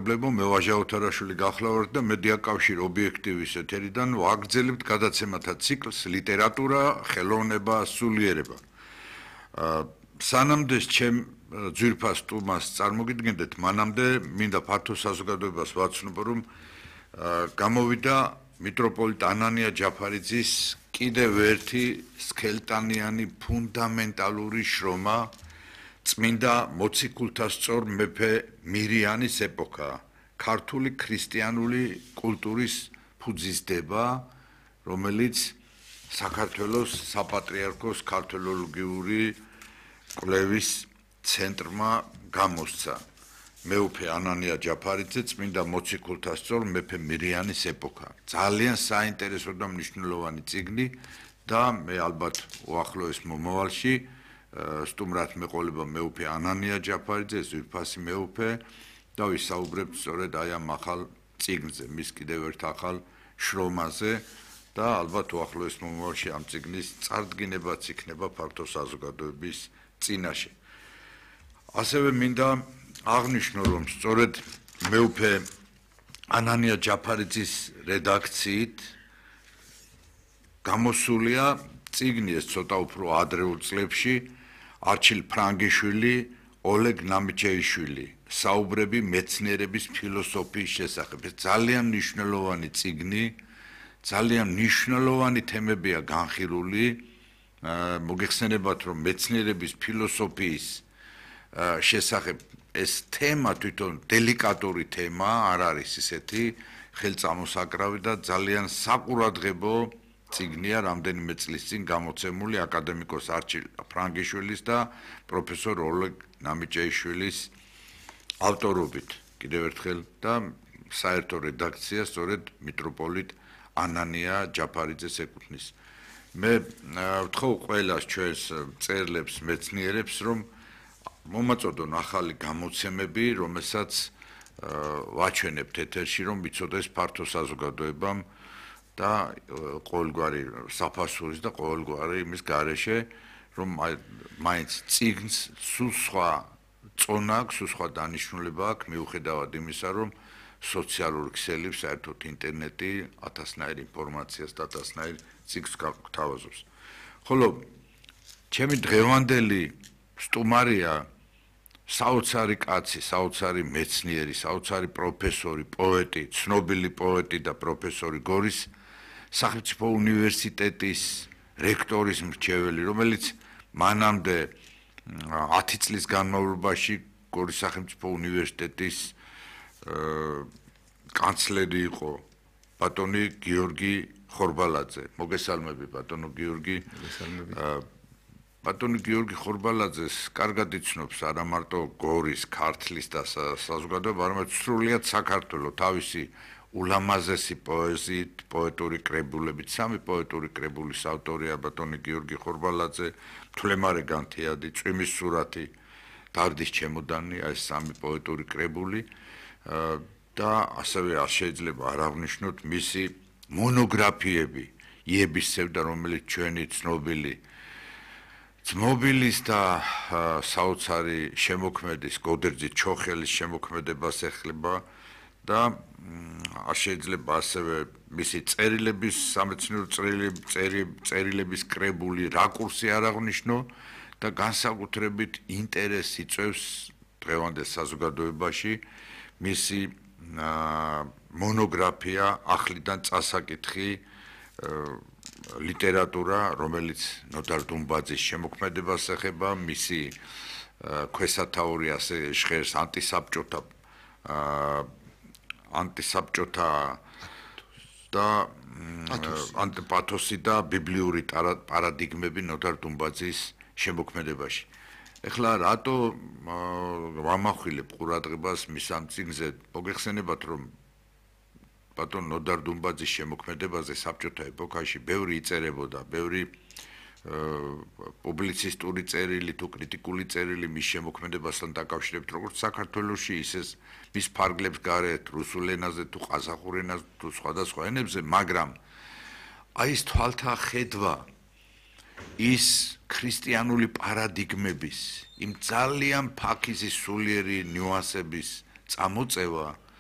Problemo me ვაჟაოთარაშვილი გახლავართ და მედიაკავშირ ობიექტივის ეთერიდან ვაგრძელებთ გადაცემათა ციკლს ლიტერატურა, ხელოვნება, სულიერება. სანამდე ჩემ ძვირფას სტუმარს წარმოგიდგენდეთ, მანამდე მინდა ფართო საზოგადოებას ვაცნობ, რომ გამოვიდა მიტროპოლიტ ანანია ჯაფარიძის კიდევ ერთი სქელტანიანი ფუნდამენტალური შრომა წმინდა მოციქულთასწორ მეფე მირიანის ეპოქა, ქართული ქრისტიანული კულტურის ფუძისდება, რომელიც საქართველოს საპატრიარქოს ქართველოლოგიური კვლევის ცენტრმა გამოსცა. მეუფე ანანია ჯაფარიძე წმინდა მოციქულთასწორ მეფე მირიანის ეპოქა. ძალიან საინტერესო და მნიშვნელოვანი წიგნი და მე ალბათ უახლოეს მომავალში სტუმრად მეყოლება მეუფე ანანია ჯაფარიძე, ზვირფასი მეუფე და ვისაუბრებთ სწორედ აი ამ ახალ წიგნზე, მის კიდევ ერთ ახალ შრომაზე და ალბათ უახლოეს მომავალში ამ წიგნის წარდგინებაც იქნება ფართო საზოგადოების წინაშე. ასევე მინდა აღნიშნო, რომ სწორედ მეუფე ანანია ჯაფარიძის რედაქციით გამოსულია წიგნი ეს ცოტა უფრო ადრეულ წლებში არჩილ ფრანგიშვილი, ოლეგ ნამიჩეიშვილი, საუბრები მეცნიერების ფილოსოფიის შესახებ. ძალიან მნიშვნელოვანი წიგნი, ძალიან მნიშვნელოვანი თემებია განხილული. მოგეხსენებათ, რომ მეცნიერების ფილოსოფიის შესახებ ეს თემა თვითონ დელიკატური თემა არ არის ისეთი ხელწამოსაკრავი და ძალიან საყურადღებო წიგნია რამდენიმე წლის წინ გამოცემული აკადემიკოს არჩილ ფრანგიშვილის და პროფესორ ოლეგ ნამიჩეიშვილის ავტორობით. კიდევ ერთხელ და საერთო რედაქცია სწორედ მიტროპოლიტ ანანია ჯაფარიძეს ეკუთვნის. მე ვთხოვ ყველას ჩვენს მწერლებს, მეცნიერებს, რომ მომაწოდონ ახალი გამოცემები, რომელსაც ვაჩვენებთ ეთერში, რომ მიცოდეს ფართო საზოგადოებამ და ყოველგვარი საფასურის და ყოველგვარი იმის გარეშე, რომ მაინც წიგნს სულ სხვა წონა აქვს, სულ სხვა დანიშნულება აქვს, მიუხედავად იმისა, რომ სოციალური ქსელი, საერთოდ ინტერნეტი ათასნაირ ინფორმაციას და ათასნაირ წიგნს გვთავაზობს. ხოლო ჩემი დღევანდელი სტუმარია საოცარი კაცი, საოცარი მეცნიერი, საოცარი პროფესორი, პოეტი, ცნობილი პოეტი და პროფესორი გორის სახელმწიფო უნივერსიტეტის რექტორის მრჩეველი, რომელიც მანამდე 10 წლის განმავლობაში გორის სახელმწიფო უნივერსიტეტის კანცლერი იყო ბატონი გიორგი ხორბალაძე. მოგესალმები ბატონო გიორგი. ბატონი გიორგი ხორბალაძეს კარგად იცნობს არა მარტო გორის, ქართლის და საზოგადოება, არამედ სრულიად საქართველოს თავისი ულამაზესი პოეზიით, პოეტური კრებულებით, 3 პოეტური კრებულის ავტორია ბატონი გიორგი ხორბალაძე, მთლემარე განთიადი, წვიმის სურათი, დარდის ჩემოდანი, ეს 3 პოეტური კრებული და ასევე შეიძლება არ აღნიშნოთ მისი მონოგრაფიები, იების სევდა, რომელიც ჩვენი ცნობილის და საოცარი შემოქმედის გოდერძი ჩოხელის შემოქმედებას ეხება და შეიძლება ასევე მისი წერილების, სამეცნიერო წერილების კრებული რაკურსი არ აღნიშნო და განსაკუთრებით ინტერესი იწვევს დღევანდელ საზოგადოებაში მისი მონოგრაფია ახლიდან წასაკითხი ლიტერატურა, რომელიც ნოდარ დუმბაძის შემოქმედებას ეხება, მისი ქვესათაური ასე ჟღერს ანტისაბჭოთა და ანტიპათოსი და ბიბლიური პარადიგმები ნოდარ დუმბაძის შემოქმედებაში. ეხლა რატო ვამახვილებ ყურადღებას მის ამ წიგნზე? მოგეხსენებათ, რომ ბატონ ნოდარ დუმბაძის შემოქმედებაზე საბჭოთა ეპოქაში ბევრი იწერებოდა, ბევრი პუბლიცისტური წერილი თუ კრიტიკული წერილი მის შემოქმედებასთან დაკავშირებით, როგორც საქართველოში, ისე მის ფარგლებს გარეთ, რუსულ ენაზე თუ ყაზახურ ენაზე თუ სხვადასხვა ენებზე, მაგრამ აი ეს თვალთა ხედვა, ის ქრისტიანული პარადიგმების, იმ ძალიან ფაქიზის სულიერი ნიუანსების წამოწევა